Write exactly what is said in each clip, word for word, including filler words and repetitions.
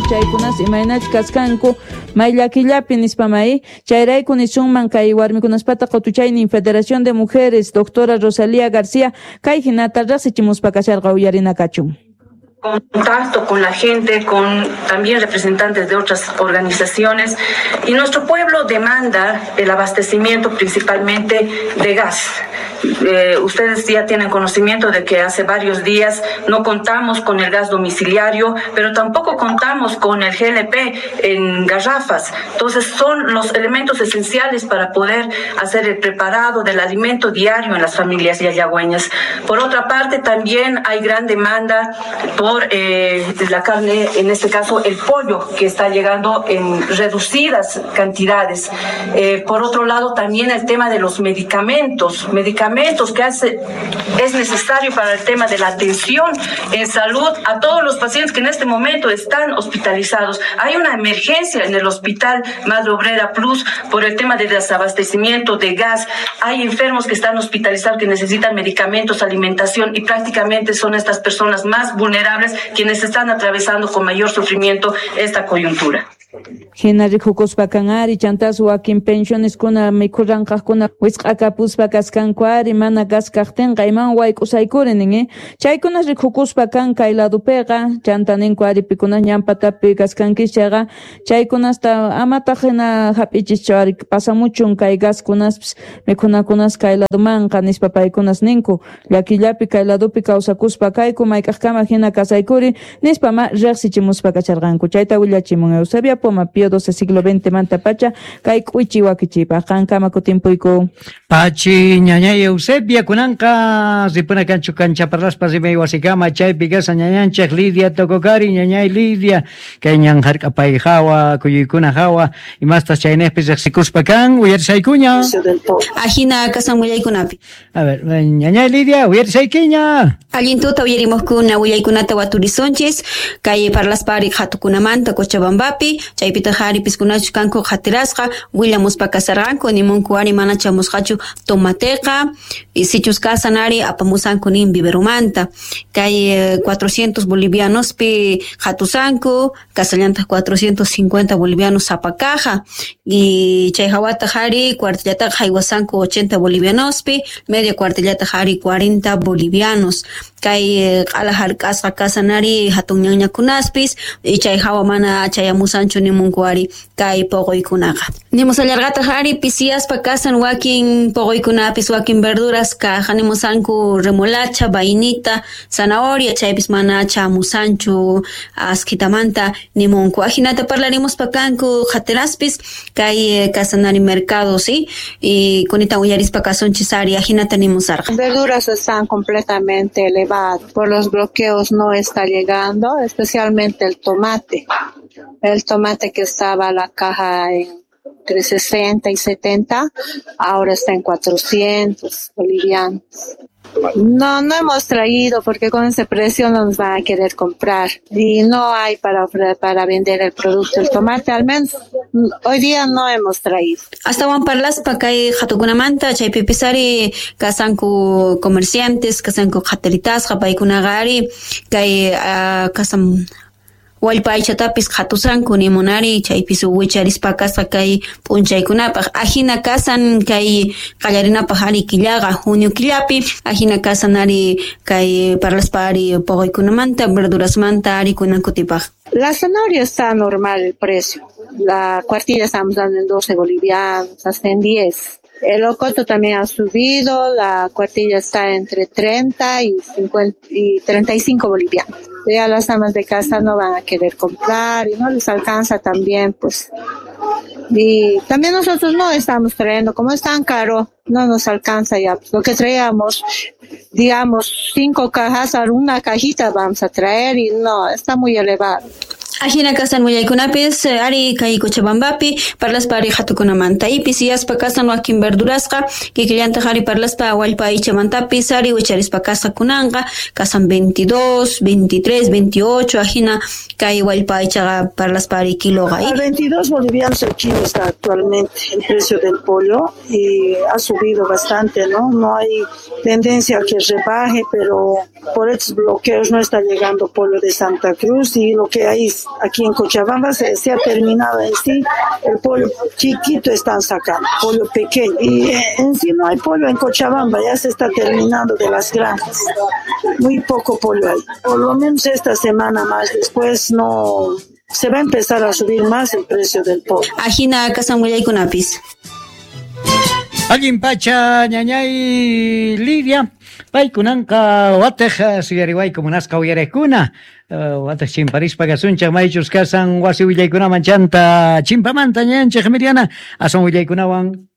Chaykunas imaynach kaskanku may llakillapi nispa may chayrayku nisunman kay warmikunaspata qutuchaynin Federación de Mujeres doctora Rosalía García kay hinata riqsichimuspa kasharqa uyarina kachun. Contacto con la gente, con también representantes de otras organizaciones, y nuestro pueblo demanda el abastecimiento principalmente de gas. Eh, ustedes ya tienen conocimiento de que hace varios días no contamos con el gas domiciliario, pero tampoco contamos con el G L P en garrafas. Entonces son los elementos esenciales para poder hacer el preparado del alimento diario en las familias yayagüeñas. Por otra parte, también hay gran demanda por eh, la carne, en este caso el pollo, que está llegando en reducidas cantidades. Eh, por otro lado, también el tema de los medicamentos, medicamentos que hace, es necesario para el tema de la atención en salud a todos los pacientes que en este momento están hospitalizados. Hay una emergencia en el Hospital Madre Obrera Plus por el tema de desabastecimiento de gas. Hay enfermos que están hospitalizados que necesitan medicamentos, alimentación, y prácticamente son estas personas más vulnerables quienes están atravesando con mayor sufrimiento esta coyuntura. Hina rikukuspa kan ari chantas wakin pensioneskuna mikhurranqaqkuna wisq'akapuspa kaskanku ari mana gas kaqtinqa iman wayk'usaykuri nin eh chaykunas rikukuspa kan kay ladupiqa chanta ninku ari pikunas ñanpatapi kaskankichis chayqa chaykunasta amataq hina hap'ichischu ari pasamuchun kay gaskunaspis mikhunakunas kay ladumanqa nispa paykunas ninku llakillapi kay ladupi kawsakuspa kayku mayk'aqkama hina kasaykuri nispa ma riqsichimuspa kacharqanku chayta willachimun Eusebia Poma Pío doce siglo veinte manta pacha kay k'uichi wakichipaq qankama kutimpuyku. Pachi ñañay Eusebia kunanqa ripuna kanchu kancha parlaspa rimay wasikama chaypi kasa ñañanchik Lidia Tococari ñañay Lidia kay ñan hark'apay hawa kuyuykuna hawa imastas chaynejpi riqsikuspa kan uyarisaykuña. Ajina kasan willaykunapi. A ver, ñañay Lidia uyarisaykiña. Allin tuta uyarimuqkuna willaykunata waturisonchis kay parlaspari qhatukunamanta Cochabambapi chaypitaq ari piskunachu kanku qhatirasqa willamuspa kasarqanku nimunku ari mana chamusqachu tomateqa sichus kasan ari apamusanku nin viverumanta kay cuatrocientos bolivianospi qhatusanku kasallantaq cuatrocientos cincuenta bolivianos sapa caja y chay hawataq ari cuartillataqa haywasanku ochenta bolivianospi media cuartillataq ari cuarenta bolivianos kay q'ala hark'asqa kasan ari hatun ñañakunaspis y chay hawa mana chayamusanchu nimunku ari kay poqoykunaqa nimusallarqataq ari pisiyaspa kasan wakin poqoykunapis wakin verduras kaja nimusanku remolacha, vainita, zanahoria chaypis mana chamusanchu askitamanta nimunku ajinata parlarimuspa kanku qhatiraspis kay kasan ari mercado sí y kunita uyarispa kasunchis ari ajinata nimusarqa. Verduras están completamente elevadas por los bloqueos, no está llegando, especialmente el tomate. El tomate que estaba la caja en entre sesenta y setenta, ahora está en cuatrocientos bolivianos. No, no hemos traído porque con ese precio no nos van a querer comprar y no hay para para vender el producto, el tomate al menos hoy día no hemos traído. Astawan parlaspa kay qhatukunamanta chaypipis ari kasanku comerciantes, kasanku qhatiritasqa paykunaqa ari kay uh, kasan wallpa aychatapis qhatusanku nimunari chaypis wicharispa kasqa kay p'unchaykunapaq ajina kasan kay qallarinapaq ari killaqa junio killapi ajina kasan ari kay parlaspa ari poqoykunamanta verdurasmanta ari kunan kutipaq. La zanahoria está normal el precio. La cuartilla estamos dando en doce bolivianos, hasta en diez. El locoto también ha subido, la cuartilla está entre treinta y cincuenta y treinta y cinco bolivianos. Ya las amas de casa no van a querer comprar y no les alcanza también, pues. Y también nosotros no estamos trayendo, como es tan caro, no nos alcanza ya. Lo que traíamos, digamos, cinco cajas, a una cajita vamos a traer y no, está muy elevado. Ajina kasan willaykunapis ari kay Cochabambapi parlaspa ari qhatukunamanta ipis yaspa kasan wakin verdurasqa kikillantaq ari parlaspa wallpa aychamantapis ari wicharispa kasqa kunanqa kasan veintidós, veintitrés, veintiocho ajina kay wallpa aychaqa parlaspa ari kiloqa. A veintidós bolivianos el kilo está actualmente el precio del pollo y ha subido bastante, ¿no? No hay tendencia a que rebaje, pero por estos bloqueos no está llegando pollo de Santa Cruz y lo que hay Aquí en Cochabamba se, se ha terminado en sí, el pollo chiquito están sacando, pollo pequeño. Y en sí no hay pollo en Cochabamba, ya se está terminando de las granjas. Muy poco pollo hay. Por lo menos esta semana más, después no se va a empezar a subir más el precio del pollo. Ajina kasan willaykunapis. Allin pacha ñañay Lidia, paykunanqa watej suyariwayku munasqa uyariqkuna, watej chimparispa kasunchik maychus kasan wasi willaykunaman chanta chimpamanta ñañanchik Miriana asun willaykunawan.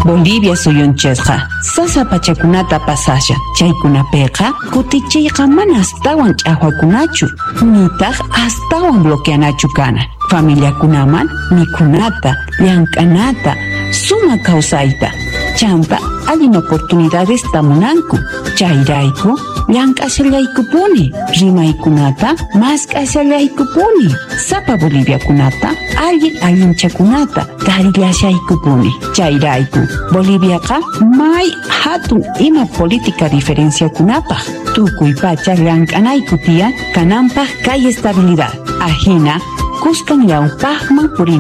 Bolivia suyunchikqa sasa pachakunata pasashan, chaykunapiqa kutichiyqa mana astawan ch'aqwakunachu, nitaq astawan bloqueanachu kana. Familiakunaman mikhunata, llank'anata, suma kawsayta, chanta allin oportunidades tamunanku. Chayrayku llank'ashallaykupuni, rimaykunata mask'ashallaykupuni, sapa boliviakunata allin allinchakunata tarillashaykupuni. Chayrayku Boliviaqa may hatun ima política diferenciakunapaq, tukuy pacha llank'anayku tiyan kananpaq kay estabilidad. Ajina kuskan ñawpaqman purinapaq.